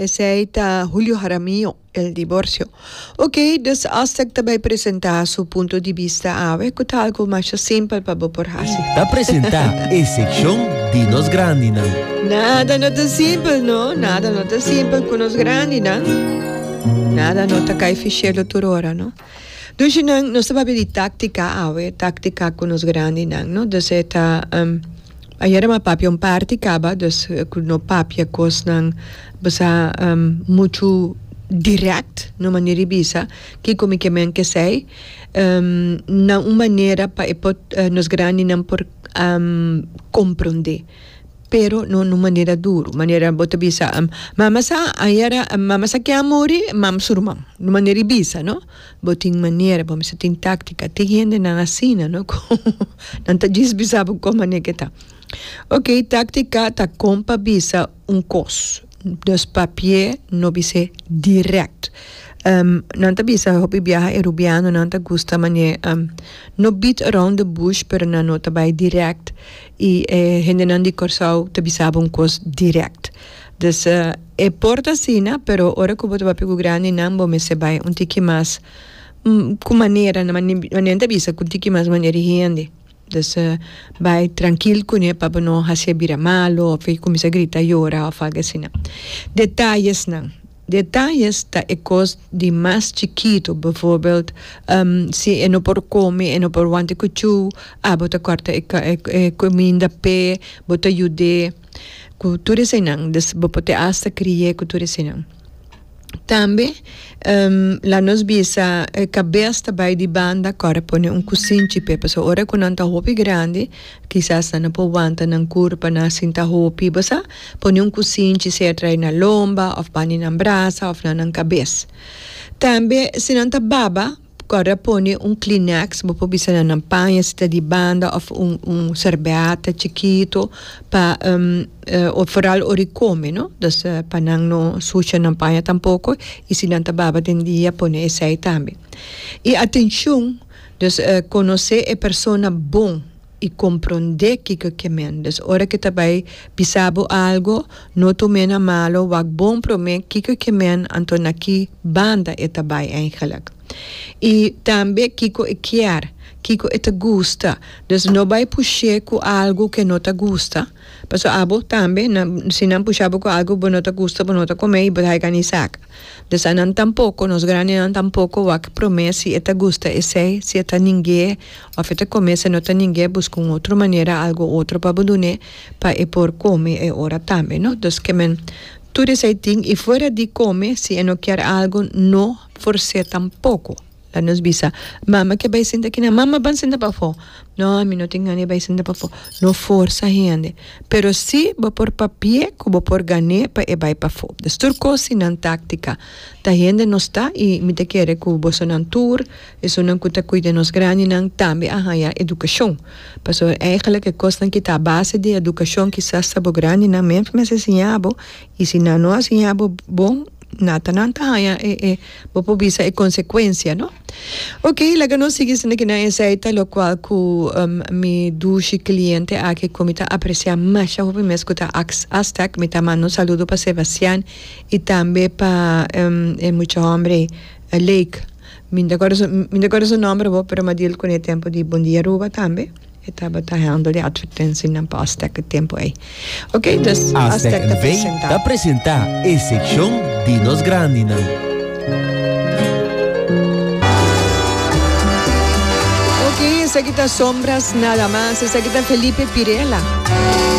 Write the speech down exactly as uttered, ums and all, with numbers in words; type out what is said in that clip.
Esey ta Julio Jaramillo, El Divorcio. Ok, dus Aztec ta bay presenta su punto di bista awe, cu ta algo mas simpel pa bo por haci. Ta presenta e seccion di nos grandinan. Nada no ta simpel, no? Nada no ta simpel cu nos grandinan. Nada no ta cay fi cielo tur ora, no? Dus nan, nos ta papia di tactica awe, tactica cu nos grandinan, no? Dus e ta um, ayera m'a papia un parti caba, dus cu no papia cosnan basa um, mucho direct, no manera di bisa, kico mi kiermen cu esey, um, na un manera pa e por, uh, nos grandinan por um, comprende. Pero no na manera duro, manera bo ta bisa, um, mama sa ayera, mama sa cu a muri, mama su ruman, na manera di bisa, no? Bo tin manera, bo mester tin tactica, tin hendenan asina, no? Nan ta djis bisa bo con manera cu ta. Ok, tactica ta con pa bisa un cos. Dus papia, no bisa direct. Um, nan ta bisa hopi biaha e rubiano nan ta gusta mane um, no beat around the bush, pero nan no ta bay direct y eh, hendenan di Corsou ta bisa un cos direct. Dus uh, e por ta asina, pero ora cu bo ta papia cu grandinan bo mester bay un tiki mas mm, cu manera, na manera ta bisa cu tiki mas manera hende. Dus uh, bay trankil cune pa no haci bira malo of cuminsa grita, yora of algo asina. Detayesnan. Detayes ta e cos di mas chikito, bijvoorbeeld um, si e no por come, e no por wanta cuchu, ah, bo ta corta e, e, e cuminda p'e, bo ta yud'e, cu tur eseynan, dus bo por hasta cria cu tur eseynan. Tambe, um, laga nos bisa eh, cabes ta bay di banda, corda pone un cusinchi p'e, so ora cu nan ta hopi grandi, kisas nan no por wanta nan curpa na sinta hopi, basa, pone un cusinchi sea trai na lomba, of bani na brasa, of na nan cabes. Tambe, si nan ta baba, corda pone un Kleenex, bo por bisa na nan paña, si ta di banda, of un, un serbete chikito, pa, um, uh, of vooral ora come, no? Dus uh, pa nan no susha nan paña tampoco, y si nan ta baba den dia, pone esey tambe. Y atencion, dus uh, conoce e persona bon, y comprende kico e kiermen. Dus ora cu e ta bay bisa bo algo, no tum'e na malo, wak bon prome kico e kiermen, anto na ki banda e ta bay eigenlijk. Y tambe kico e kier, kico e ta gusta. Dus no bay pusha cu algo cu e no ta gusta. Paso abo tambe, na, si nan pusha bo cu algo bo no ta gusta, bo no ta come y bo ta ni saca. Dus anan tampoco, nos grandinan tampoco, wak prome si e ta gusta esey, si e ta ning'e, of e ta come, si no ta ning'e, busca un otro manera, algo otro pa bo dun'e, pa e por come e ora tambe, no? Dus kiermen, tur esey tin, y fuera di come, si e no kier algo, no forsa tampoco. Laga nos bisa, mama kier bay sinta aki na, mama ban sinta pafo. No, mi no tin gana bay sinta pafo. No forsa hende. Pero si bo por papia, cu bo por gan'e pa e bay pafo. Dus tur cos tin nan tactica. Ta hende nos ta y mi ta kere cu bosonan tur, esunnan cu ta cuida nos grandinan tambe a haya educacion. Paso eigenlijk e cosnan cu ta base di educacion kisas ta bo grandinan mes mester siña bo y si nan no a siña bo bon, nata nan ta haya e e bo por bisa e consecuencia, no? Ok, laga nos sigui sende cu na esey ta locual cu um, mi dushi cliente aki cu mi ta aprecia masha hopi mes cu ta Aztec, mi ta manda un saludo pa Sebastian y tambe pa um, e mucha homber Lake. Mi no ta mi ta su nomber bo, pero m'a deal cune tempo di Bon Dia Aruba tambe. E tabata handle di advertentie pa Aztec e tempo ey. Ok, dus Aztec Aztec ta N V presenta. Ta presenta e seccion di nos grandinan. Ok, esaki ta Sombras Nada Mas. Esaki ta Felipe Pirela.